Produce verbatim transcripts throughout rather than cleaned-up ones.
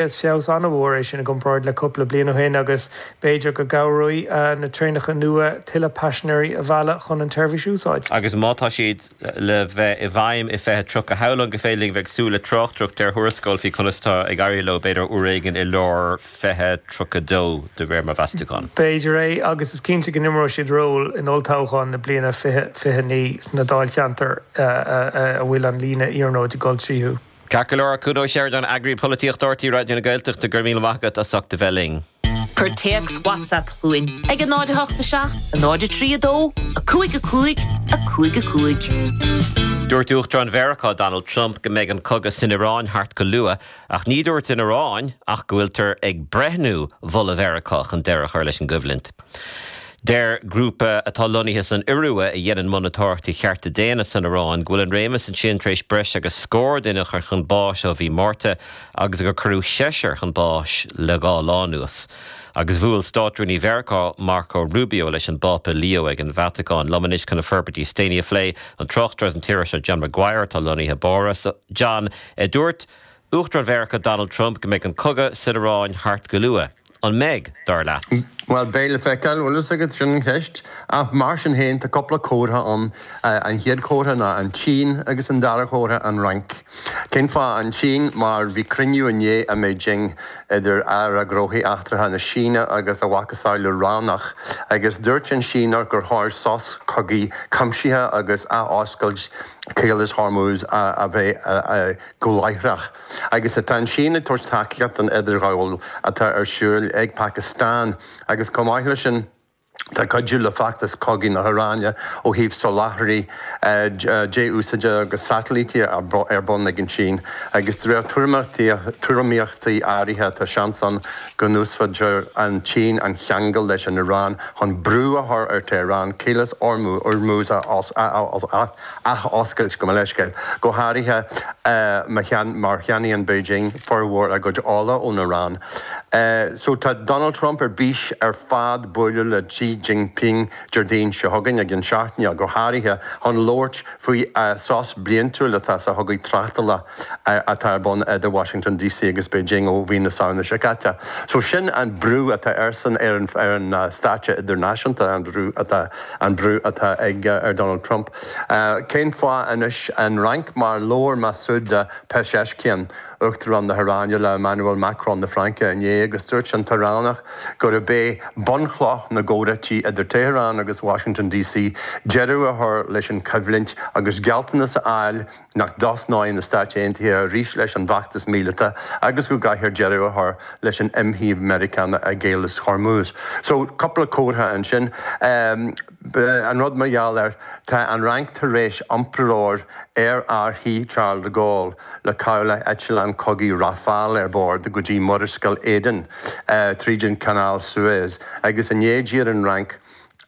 Is feabhas an-mhór é sin i gcomparáid le cúpla bliain ó shin agus b'fhéidir go gcabhróidh na traenacha nua tuilleadh paisinéirí a mhealladh chun an tseirbhís a úsáid. Agus má tá siad le bheith i bhfeidhm i fiche tríocha, shamhlóinn gur féidir linn bheith ag súil le tráchtaireacht ar thuarascáil faoi conas tá ag éirí leo b'fhéidir uair éigin i lár fiche tríocha dó de réir mo mheastachán. B'fhéidir é agus is cinnte go n-imreoidh siad ról in olltoghchán na bliana fiche fiche naoi sna dáilcheantair a bhfuil an líne iarnróid ag dul tríothu. Ceart go leor, Cuan Ó Seireadáin, Eagraí Polaitíochta R T É Raidió na Gaeltachta, go raibh míle maith agat as ucht a bheith linn. Cuir téacs WhatsApp chugainn ag a náid a hocht seacht, a náid a trí a dó, a cúig a cúig, a cúig a cúig. Dúirt Uachtarán Mheiriceá Donald Trump go mbeidh an cogadh san Iaráin thart go luath, ach ní dúirt an Iaráin ach go bhfuiltear ag breithniú mholadh Mheiriceá chun deireadh a chur leis an gcoimhlint. Deir grúpa atá lonnaithe san Iorua a dhéanann monatóireacht ar chearta daonna san Iaráin go bhfuil an réimeas ansin tar éis breis agus scór duine a chur chun báis ó mhí Márta agus gur cuireadh seisear chun báis le dhá lá anuas. Agus bhuail Státrúnaí Mheiriceá Marco Rubio leis an bPápa Leo ag an Vatacáin. Liom anois chun na forbairtí is déanaí a phlé an tráchtaire an t-iriseoir John Maguire atá lonnaithe i bPáras. John, dúirt Uachtarán Mheiriceá Donald Trump go mbeidh an cogadh san Iaráin thart go luath. An mbeidh, dar leat? Well beidh le feiceáil, bhfuil a fhios agat, sin an cheist. Ach mar sin féin tá cúpla comhartha ann an chéad chomhartha ná an tSín agus an dara comhartha an Fhrainc. Cén fáth an tSín mar bhí cruinniú inné i mBeijing idir Aire Gnóthaí Eachtracha na Síne agus a mhacasamhail Ioránach agus dúirt an Síneach gur chóir sos cogaidh cuimsitheach agus athoscailt Caolas Hormuz a bheith go láithreach. Agus tá an tSín ag tabhairt tacaíocht an idirghabháil atá ar siúl ag Pakistan agus chomh maith leis sin tá cuidiú le feachtas cogaidh na hIaráine ó thaobh soláthraí dé-úsáide agus satailítí ar bun ag an tSín agus de réir tuairimíochtaí áirithe tá seans ann go n-úsáidfear an tSín an cheangal leis an Iaráin chun brú a chur ar Tehran Caolas Hormuz a athoscailt go leiscéil. Go háirithe mar cheannaíonn Beijing formhór a gcuid ola ón Iaráin. So tá Donald Trump ar bís ar fad bualadh le Xi Jinping Déardaoin seo chugainn ag an seachtain go háirithe chun labhairt faoi sos bliantúil atá sa chogadh tráchtála atá ar bun idir Washington D C agus Beijing ó mhí na Samhna seo caite. So sin an brú atá airsean ar an ar an stáitse idirnáisiúnta an brú atá an brú atá ag ar Donald Trump. Uh, Cén fáth anois an Fhrainc mar labhair Masoud Pezeshkian Uachtarán na hIaráine le Emmanuel Macron na Fraince inné agus dúirt an tIoránach gurb é bunchloch na gcomhráití idir Tehran agus Washington D C deireadh a chur leis an choimhlint agus gealltanas a fháil nach dtosnóidh na Stáit Aontaithe arís leis an bhfeachtas míleata agus go gcaithfear deireadh a chur leis an imshuí Meiriceánach i gCaolas Hormuz. So cúpla comhartha ansin um, an rud mar gheall air tá an Fhrainc tar éis iompróir aerárthaí Charles de Gaulle le cabhlach eitleán cogaidh Rafale ar bord go dtí Murascaill Aden uh, tríd an Canal Suez agus inné d'iarr an Fhrainc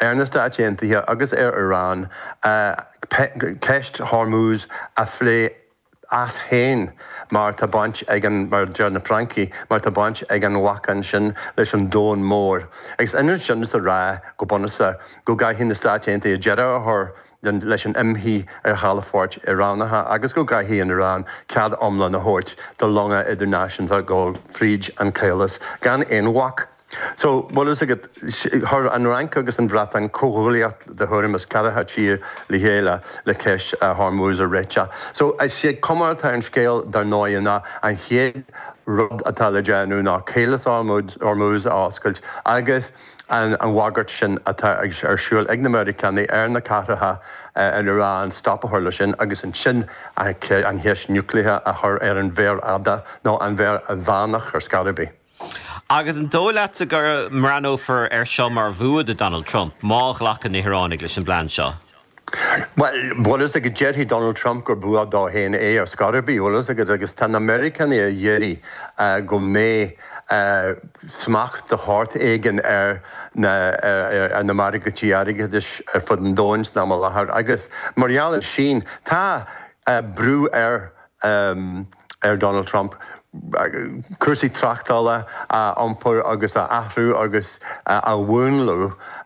ar na Stáit Aontaithe agus ar Iran uh, ceist Hormuz a phlé as féin mar tá baint ag an mar deir na Francaigh mar tá baint ag an bhacainn sin leis an domhan mór. Agus ina sin is a rá go bunúsach go gcaithfidh na Stáit Aontaithe deireadh a chur leis an imshuí ar chalafoirt Iránacha agus go gcaithfidh an Iaráin cead iomlán a thabhairt do longa idirnáisiúnta dul fríd an caolas gan aon bhac. So bhfuil a fhios agat chuir an Fhrainc agus an Bhreatain comhghuaillíocht de thuairim is ceathracha tír le chéile le ceist Hormuz a réiteach. So is sé cuma atá an scéal dar ndóigh ná an chéad rud atá le déanamh ná Caolas Hormuz a oscailt agus an an bhagairt sin atá ar siúl ag na Meiriceánaigh ar na cathracha in Iran stop a chur leis sin agus ansin an cheist núicléach a chur ar an mhéar fhada nó an mhéar mheánach ar scor ar bith. Agus an dóigh leat go mbreathnófar ar seo mar bhua do Donald Trump má ghlacann na hIoránaigh leis an bplean seo. Well, bhfuil a fhios agat déarfaidh Donald Trump gur bua dó féin é ar scor ar bith, bhfuil a fhios agat agus tá na Meiriceánaigh ag iarraidh go mbeidh smacht de shórt éigin ar na ar na margaí airgeadais ar fud an domhain san am i láthair agus mar gheall air sin tá brú ar um, ar Donald Trump cúrsaí tráchtála a iompar agus a athrú agus a mhúnlú.